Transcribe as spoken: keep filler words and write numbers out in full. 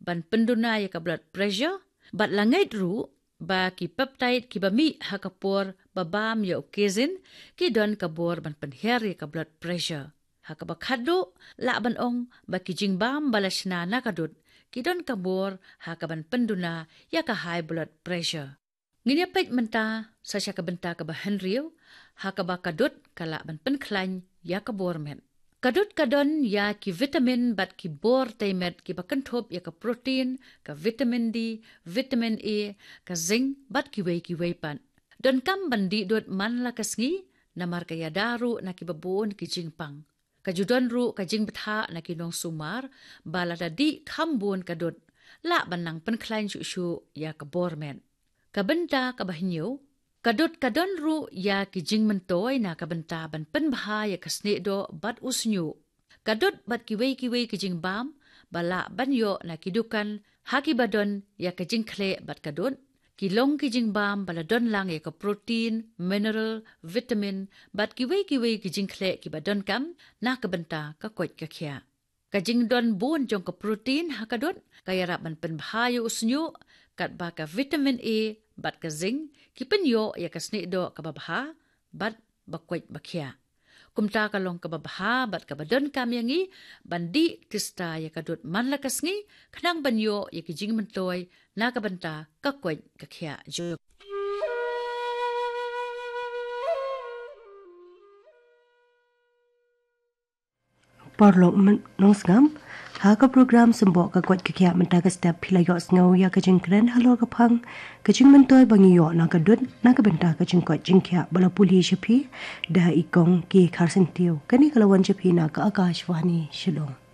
ban pynduna ïa ka blood pressure, bad la ngeit ruh ba ki peptide kiba mih ha ka por ba bam ïa u casein ki don ka bor ban pynhiar ïa ka blood pressure. Ha kaba khatduh, lah ban ong ba ki jingbam ba la shna na ka dud ki don ka bor ha kaban pynduna ïa ka high blood pressure. Ngin ïa peit mynta sa sha ka bynta kaba hynriew, ha kaba ka dud ka lah ban pynkhlaiñ ïa ka bor met. Ka dud ka don ïa ki vitamin bad ki bor tei met kiba kynthup ïa ka protein, ka vitamin D, vitamin A, ka zinc bad kiwei kiwei pat. Donkam ban dih dud man la ka sngi, namar ka ïada ruh na kiba bun ki jingpang. Ka ju don ruh ka jingbthah na ki nongsumar, ba lada dih kham bun ka dud, lah ban nang pynkhlaiñ shuh shuh ïa ka bor met. Ka bynta kaba hynñiew, ka dud ka don ruh ïa ki jingmyntoi na ka bynta ban pynbha ïa ka snieh doh bad u shñiuh. Ka dud bad kiwei kiwei ki jingbam ba lah ban ïoh na ki dukan ha kiba don ïa ka jingkhleh bad ka dud, ki long ki jingbam ba la don lang ïa ka protein, mineral, vitamin bad kiwei kiwei ki jingkhleh kiba donkam na ka bynta ka koit ka khiah. Ka jingdon bun jong ka protein ha ka dud ka ïarap ban pynbha ïa u shñiuh, katba ka vitamin A bad ka zinc ki pynïoh ïa ka snieh doh kaba bha bad ba koit ba khiah. Kumta ka long kaba bha bad kaba donkam ïa ngi ban dih tista ïa ka dud man la ka sngi, khnang ban ïoh ïa ki jingmyntoi na ka bynta ka koit ka khiah jong. Paralok nongsngap, ha ka program Symboh ka Koit ka Khiah mynta ka step phi la ïohsngew ïa ka jingkren halor ka phang ka jingmyntoi ba ngi ïoh na ka dud na ka bynta ka jingkoit jingkhiah ba la pule sha phi da i Kong K. Kharsyntiew. Kane ka la wan sha phi na ka Akashvani Shillong.